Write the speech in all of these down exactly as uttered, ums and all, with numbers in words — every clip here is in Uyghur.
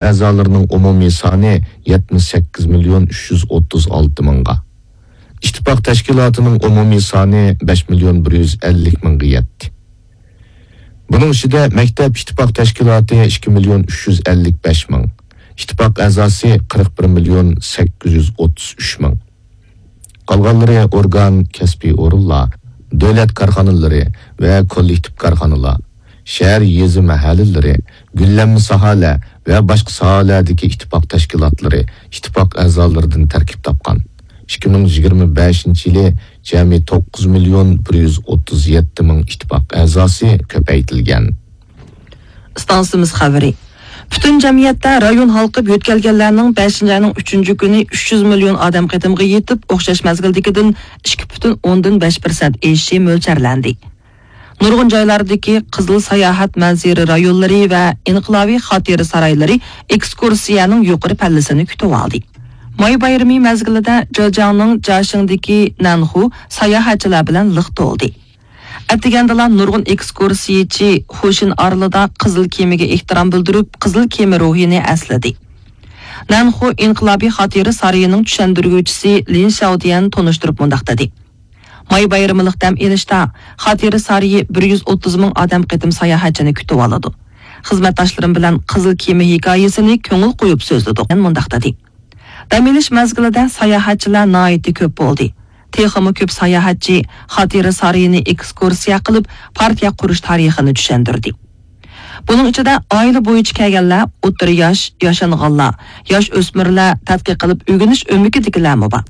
ئەزالىرىنىڭ ئومۇمىي سانى يەتمىش سەككىز مىليون ئۈچ يۈز ئوتتۇز ئالتە مىڭغا، ئىتتىپاق تەشكىلاتىنىڭ ئومۇمىي سانى بەش مىليون بىر يۈز ئەللىك مىڭغا يەتتى. بۇنىڭ ئىچىدە مەكتەپ ئىتتىپاق تەشكىلاتى ئىككى مىليون ئۈچ يۈز ئەللىك بەش مىڭ، ئىتتىپاق ئەزاسى قىرىق بىر مىليون سەككىز يۈز ئوتتۇز ئۈچ مىڭ. قالغانلىرى ئورگان، كەسپىي ئورۇنلار، دۆلەت كارخانىلىرى ۋە كوللېكتىپ كارخانىلار، شەھەر، يېزا، مەھەللىلىرى، گۈللەنمە ساھەلەر ۋە باشقا ساھەلەردىكى ئىتتىپاق تەشكىلاتلىرى ئىتتىپاق ئەزالىرىدىن تەركىب تاپقان. ئىككى مىڭ يىگىرمە بەشىنچى يىلى جەمئىي توققۇز مىليون بىر يۈز ئوتتۇز يەتتە مىڭ ئىتتىپاق ئەزاسى كۆپەيتىلگەن. ئىستانسىمىز خەۋىرى. پۈتۈن جەمئىيەتتە رايون ھالقىپ يۆتكەلگەنلەرنىڭ بەشىنچى ئاينىڭ ئۈچىنچى كۈنى ئۈچ يۈز مىليون ئادەم قېتىمغا يېتىپ، ئوخشاش مەزگىلدىكىدىن ئىككى پۈتۈن ئوندىن بەش پىرسەنت ئېشىشى مۆلچەرلەندى. نۇرغۇن جايلاردىكى قىزىل ساياھەت مەنزىرە رايونلىرى ۋە ئىنقىلابىي خاتىرە سارايلىرى ئېكسكۇرسىيەنىڭ يۇقىرى پەللىسىنى كۈتۈۋالدى. ماي بايرىمى مەزگىلىدە جېجياڭنىڭ جاشىڭدىكى نەنخۇ ساياھەتچىلەر بىلەن لىق تولدى. ئەتىگەندىلا نۇرغۇن ئېكسكۇرسىيىچى خۇشىن ئارىلىدا قىزىل كېمىگە ئېھتىرام بىلدۈرۈپ، قىزىل كېمە روھىنى ئەسلىدى. نەنخۇ ئىنقىلابىي خاتىرە سارىيىنىڭ چۈشەندۈرگۈچىسى لىن شياۋديەن تونۇشتۇرۇپ مۇنداق دېدى: ماي بايرىملىق دەم ئېلىشتا خاتىرە سارىيى بىر يۈز ئوتتۇز مىڭ ئادەم قېتىم ساياھەتچىنى كۈتۈۋالىدۇ. خىزمەتداشلىرىم بىلەن قىزىل كېمە ھېكايىسىنى كۆڭۈل قويۇپ سۆزلىدۇق. مەن مۇنداق دېدى: دەم ئېلىش مەزگىلىدە ساياھەتچىلەر ناھايىتى كۆپ بولدى. تېخىمۇ كۆپ ساياھەتچى خاتىرە سارىيىنى ئېكسكۇرسىيە قىلىپ، پارتىيە قۇرۇش تارىخىنى چۈشەندۈردى. بۇنىڭ ئىچىدە ئائىلە بويىچە كەلگەنلەر، ئوتتۇرا ياش، ياشانغانلار، ياش ئۆسمۈرلەر، تەتقىق قىلىپ ئۆگىنىش ئۆمىكىدىكىلەرمۇ بار.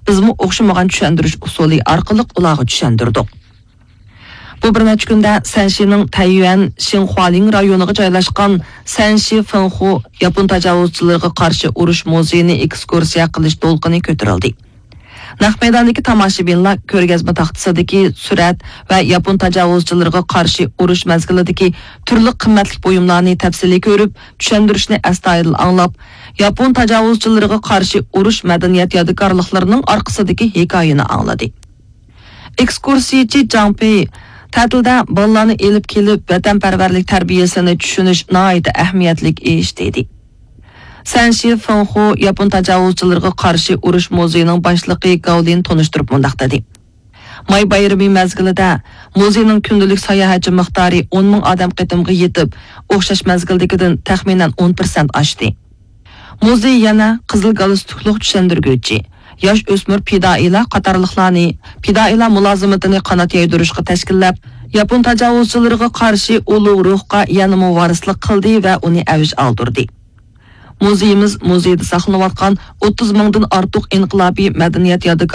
بىزمۇ ئوخشىمىغان چۈشەندۈرۈش ئۇسۇلى ئارقىلىق ئۇلارغا چۈشەندۈردۇق. بۇ بىر نەچچە كۈندە سەنشىنىڭ تەييۈەن شىنخۇالىڭ رايونىغا جايلاشقان سەنشى فېنخۇ ياپون تاجاۋۇزچىلىرىغا قارشى ئۇرۇش مۇزېيىنى ئېكسكۇرسىيە قىلىش دولقۇنى كۆتۈرۈلدى. نەق مەيداندىكى تاماشىبىنلار كۆرگەزمە تاختىسىدىكى سۈرەت ۋە ياپون تاجاۋۇزچىلىرىغا قارشى ئۇرۇش مەزگىلىدىكى تۈرلۈك قىممەتلىك بۇيۇملارنى تەپسىلىي كۆرۈپ، چۈشەندۈرۈشنى ئەستايىدىل ئاڭلاپ، ياپون تاجاۋۇزچىلىرىغا قارشى ئۇرۇش مەدەنىيەت يادىكارلىقلىرىنىڭ ئارقىسىدىكى ھېكايىنى ئاڭلىدى. ئېكسكۇرسىيىچى جاڭ پېي تەتىلدە بالىلارنى ئېلىپ كېلىپ، ۋەتەنپەرۋەرلىك تەربىيەسىنى چۈشىنىش ناھايىتى ئەھمىيەتلىك ئىش، دېدى. سەنشى فېنخۇ ياپون تاجاۋۇزچىلىرىغا قارشى ئۇرۇش مۇزېيىنىڭ باشلىقى گاۋلىن تونۇشتۇرۇپ مۇنداق دېدى: ماي بايرىمى مەزگىلىدە مۇزېينىڭ كۈندىلىك ساياھەتچى مىقدارى ئون مىڭ ئادەم قېتىمغا يېتىپ، ئوخشاش مەزگىلدىكىدىن تەخمىنەن ئون پىرسەنت ئاشتى. مۇزېي يەنە قىزىل گالستۇكلۇق چۈشەندۈرگۈچى، ياش ئۆسمۈر پىدائىيلار قاتارلىقلارنى پىدائىيلار مۇلازىمىتىنى قانات يايدۇرۇشقا تەشكىللەپ، ياپون تاجاۋۇزچىلىرىغا قارشى ئۇلۇغ روھقا يەنىمۇ ۋارىسلىق قىلدى ۋە ئۇنى ئەۋج ئالدۇردى. مۇزېيىمىز مۇزېيدا ساقلىنىۋاتقان ئوتتۇز مىڭدىن ئارتۇق ئىنقىلابىي مەدەنىيەت يادىكارلىقى